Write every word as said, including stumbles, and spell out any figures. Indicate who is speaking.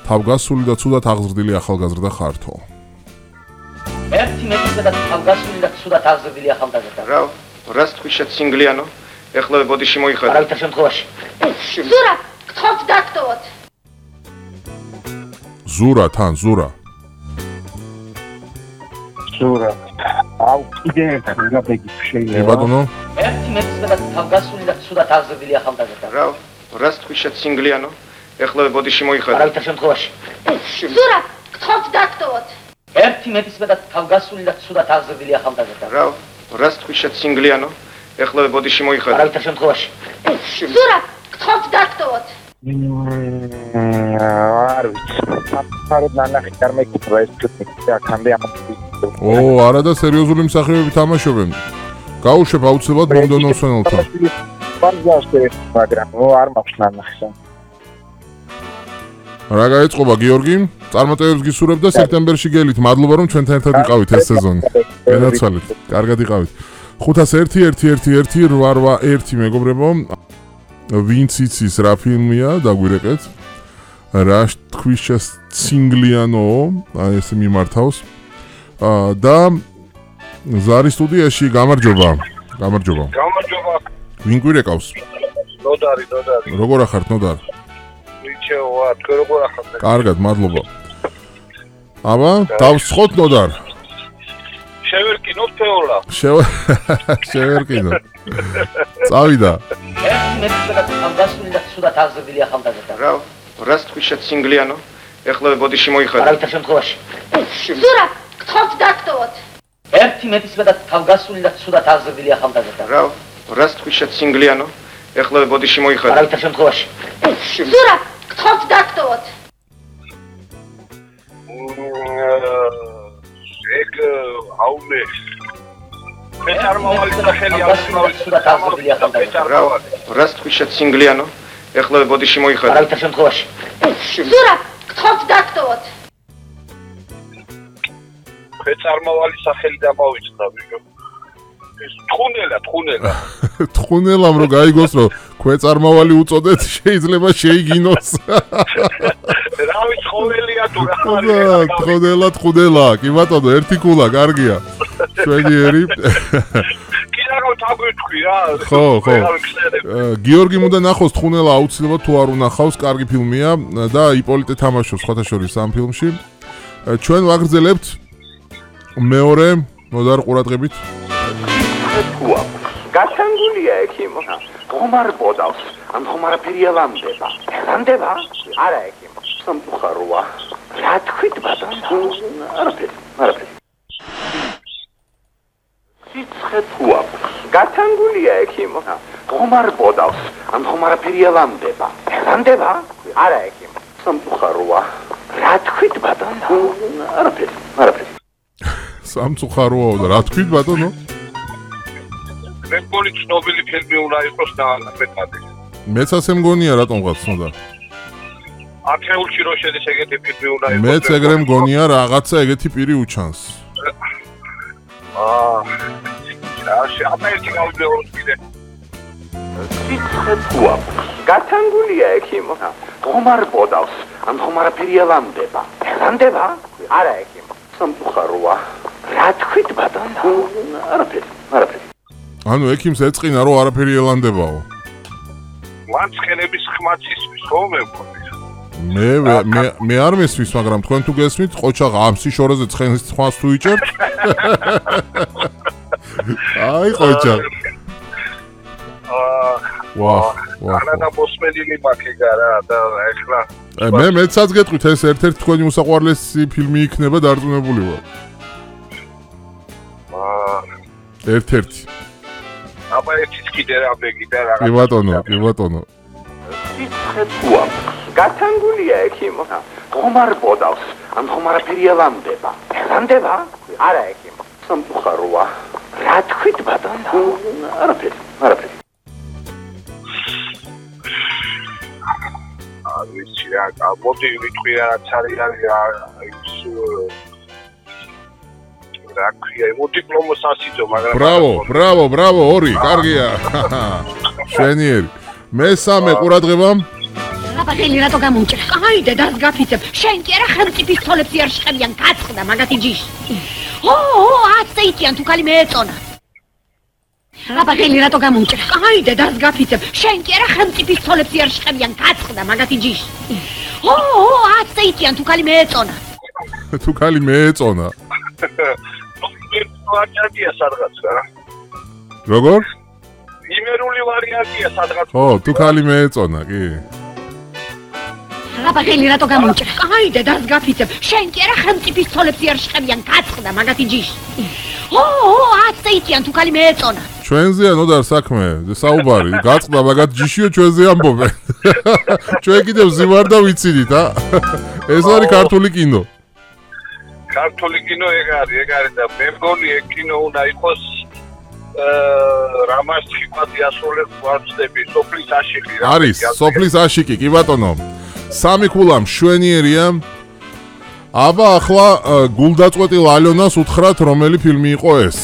Speaker 1: თავგასული და ცუდად აღზრდილი ახალგაზრდა ხართო.
Speaker 2: ერთი მეტისა და თავგასული და ცუდად აღზრდილი ახალგაზრდა.
Speaker 3: რა, რას თქვი შეცინგლიანო? ეხლა ბოდიში მოიხადე.
Speaker 2: არავითარ შემთხვევაში.
Speaker 4: ზურა, გთხოვთ დაგტოვოთ.
Speaker 1: ზურა თან, ზურა.
Speaker 5: ზურა. აუ, კიდე ერთხელ გაბეგი შეიძლება.
Speaker 1: კი ბატონო.
Speaker 2: ერთი მეტისა და თავგასული და ცუდად აღზრდილი ახალგაზრდა.
Speaker 3: რა, რას თქვი შეცინგლიანო? ეხლა ბოდიში მოიხადე.
Speaker 2: არავითარ შემთხვევაში.
Speaker 4: ზურა, გთხოვთ დაგტოვოთ.
Speaker 2: ერთი მეტისა და თავგასული და ცუდად აღზრდილი ახალგაზრდა.
Speaker 3: რა, რას თქვი შეცინგლიანო? ეხლა ბოდიში მოიხადე.
Speaker 2: არავითარ შემთხვევაში.
Speaker 4: ზურა, გთხოვთ დაგტოვოთ.
Speaker 5: არ ვიცი. საფაროდ ნანახი არ მეკითხა ეს თვითონ აქამდე ამბობ.
Speaker 1: ო, არა და სერიოზული მსახიობები თამაშობენ. გაუშვებ აუცილებლად მომდევნო მსმენელთან.
Speaker 5: პარგავსკი, მაგრამ არ მაქვს ნანახი.
Speaker 1: რა გაეწყობა გიორგი? წარმატებებს გისურვებ და სექტემბერში გელით. მადლობა რომ ჩვენთან ერთად იყავით ეს სეზონი. გენაცვალეთ. კარგად იყავით. ხუთას ერთი ერთი ერთი ერთი რვა ერთი მეგობრებო. ვინც იცის რა ფილმია, დაგვირეკეთ. რა თქვი შეცინგლიანო, აი ესე მიმართავს. და ზარის სტუდიაში გამარჯობა. გამარჯობა.
Speaker 6: გამარჯობა.
Speaker 1: ვინ გვირეკავს?
Speaker 6: ნოდარი, ნოდარი.
Speaker 1: როგორ ახართ ნოდარ?
Speaker 6: ვიჩევა, თქვენ როგორ ახართ?
Speaker 1: კარგად, მადლობა. აბა, დავსხოთ ნოდარ.
Speaker 6: შევერკინოთ ფეოლა.
Speaker 1: შევერკინო. წავიდა.
Speaker 2: ერთი მეტისა და თავგასული და ცუდად აღზრდილი ახალგაზრდა.
Speaker 3: რა, რას თქვი შეცინგლიანო? ეხლა ბოდიში მოიხადე.
Speaker 2: არავითარ შემთხვევაში.
Speaker 4: ზურა, გთხოვთ დაგტოვოთ.
Speaker 2: ერთი მეტისა და თავგასული და ცუდად აღზრდილი ახალგაზრდა.
Speaker 3: რა, რას თქვი შეცინგლიანო? ეხლა ბოდიში მოიხადე.
Speaker 2: არავითარ შემთხვევაში.
Speaker 4: ზურა, გთხოვთ დაგტოვოთ.
Speaker 6: ეგ აუნე. პეჭარმავალი და ხელი
Speaker 2: აღზრდილი ცუდად აღზრდილი ახალგაზრდა.
Speaker 3: რა, რას თქვი შეცინგლიანო? ეხლა ბოდიში მოიხადე.
Speaker 2: არავითარ შემთხვევაში.
Speaker 4: ზურა, გთხოვთ დაგტოვოთ.
Speaker 6: პეჭარმავალი სახელი დამოვიწყდა ვიგო. ეს თხუნელა, თხუნელა.
Speaker 1: თხუნელამ რო გაიგოს რომ ქვეწარმავალი უწოდეთ შეიძლება შეიგინოს.
Speaker 6: რავი თხოვნელია თუ რა
Speaker 1: არის? თხუნელა, თხუნელა. კი ბატონო, ერთი კულა, კარგია. შვედიერი.
Speaker 6: კი რა თაგვიტყვი რა.
Speaker 1: ხო, ხო. გიორგი უნდა ნახოს თხუნელა აუცილებლად თუ არ უნახავს, კარგი ფილმია და იპოლიტე თამაშობს სხვათა შორის ამ ფილმში. ჩვენ ვაგრძელებთ მეორე მოდარ ყურადღებით.
Speaker 7: გასანგულია ექიმო. ხომარ ბოდავს, ან ხომარ ფერიალანდება. ლანდება? არა ექიმო. სამწუხაროა. რა თქვით ბატონო? არაფერი, არაფერი. სიცხე თუ აქვს. გასანგულია ექიმო. ხომარ ბოდავს, ან ხომარ ფერიალანდება. ლანდება? არა ექიმო. სამწუხაროა. რა თქვით ბატონო? არაფერი, არაფერი.
Speaker 1: სამწუხაროა და რა თქვით ბატონო?
Speaker 6: მე მგონი ცნობილი ფილმი უნდა იყოს და მეტად.
Speaker 1: მეც ასე მგონია რატომღაც ცნოდა.
Speaker 6: ათეულში რო შედის ეგეთი ფილმი უნდა იყოს.
Speaker 1: მეც ეგრე მგონია რაღაცა ეგეთი პირი უჩანს.
Speaker 6: აა რა შეაფერტი გავიდეოს კიდე.
Speaker 7: სიცხე თუ აქვს. გასანგულია ექიმო. ხომარ ბოდავს, ან ხომარ ფერიალანდება. ლანდება? არა ექიმო. სამწუხაროა. რა თქვით ბატონო? არაფერი, არაფერი.
Speaker 1: ანუ ექიმს ეწყინა რომ არაფერი ელანდებაო.
Speaker 6: მან ცხენების ხმაც ისმის ხო მე მგონი.
Speaker 1: მე მე მე არ მესმის, მაგრამ თქვენ თუ გესმით, ყოჩაღ ამ სიშორეზე ცხენის ხმას თუ იჭერთ? აი ყოჩაღ.
Speaker 6: აა
Speaker 1: ვა, ვა.
Speaker 6: ანა და მოსმენილი მაქეგა რა და ეხლა
Speaker 1: მე მეცაც გეტყვით ეს ერთ-ერთი თქვენი უსაყვარლესი ფილმი იქნება დარწმუნებული ვარ.
Speaker 6: აა
Speaker 1: ერთ-ერთი.
Speaker 6: აბა ერთიც კიდე რა ბეგი და რა.
Speaker 1: კი ბატონო, კი ბატონო.
Speaker 7: სიცხე თუ აქვს. გასანგულია ექიმო. ხომარ ბოდავს, ან ხომარ ფერიალანდება. ლანდება? არა ექიმო. სამწუხაროა. რა თქვით ბატონო? არაფერი, არაფერი.
Speaker 6: არ ვიცი რა, მოდი ვიტყვი რაც არის ის რა ქვია, მოდიპლომოს ასიძო, მაგრამ
Speaker 1: ბრავო, ბრავო, ბრავო, ორი, კარგია. შვენიერი. მესამე ყურადღება.
Speaker 4: აბა ხელი რატო გამომჭრა?
Speaker 8: Άιντε, დას გაფიცებ. შენ კი არა ხელმწიფის ცოლებს იარ შეხებიან, გაწყდა მაგათი ჯიში.
Speaker 4: ო, ო, აცეიტიან თუ კალი მეეწონა.
Speaker 8: აბა ხელი რატო გამომჭრა? Άინდე, დას გაფიცებ. შენ კი არა ხელმწიფის ცოლებს იარ შეხებიან, გაწყდა მაგათი ჯიში.
Speaker 4: ო, ო, აცეიტიან თუ კალი მეეწონა.
Speaker 1: თუ კალი მეეწონა.
Speaker 6: ვარიანტია სადღაც რა.
Speaker 1: როგორ?
Speaker 6: იმერული ვარიანტია სადღაც.
Speaker 1: ო, თუ კალი მეეწონა, კი.
Speaker 8: აბა ხელი რატო გამომჭრა? Άინდე, დას გაფიცებ. შენ კი არა ხელმწიფის ცოლებს იარ შეხებიან, გაწყდა მაგათი ჯიში.
Speaker 4: ო, ო, აცეიტიან თუ კალი მეეწონა.
Speaker 1: ჩვენზეა ნოდარ საქმე, საუბარი, გაწყდა მაგათ ჯიშიო ჩვენზე ამბობენ. ჩვენ კიდევ ზივარ და ვიცინით, ა? ეს არის ქართული კინო.
Speaker 6: ქართული კინო ეგ არის, ეგ არის და მე მგონი ეგ კინო უნდა იყოს რამას ხიფათი ასრულებს ვარცდები, სოფლის აშიკი რა.
Speaker 1: არის, სოფლის აშიკი, კი ბატონო. სამი ქულა მშვენიერია. აბა ახლა გულდაწყვეტილ ალიონას უთხრათ რომელი ფილმი იყო ეს.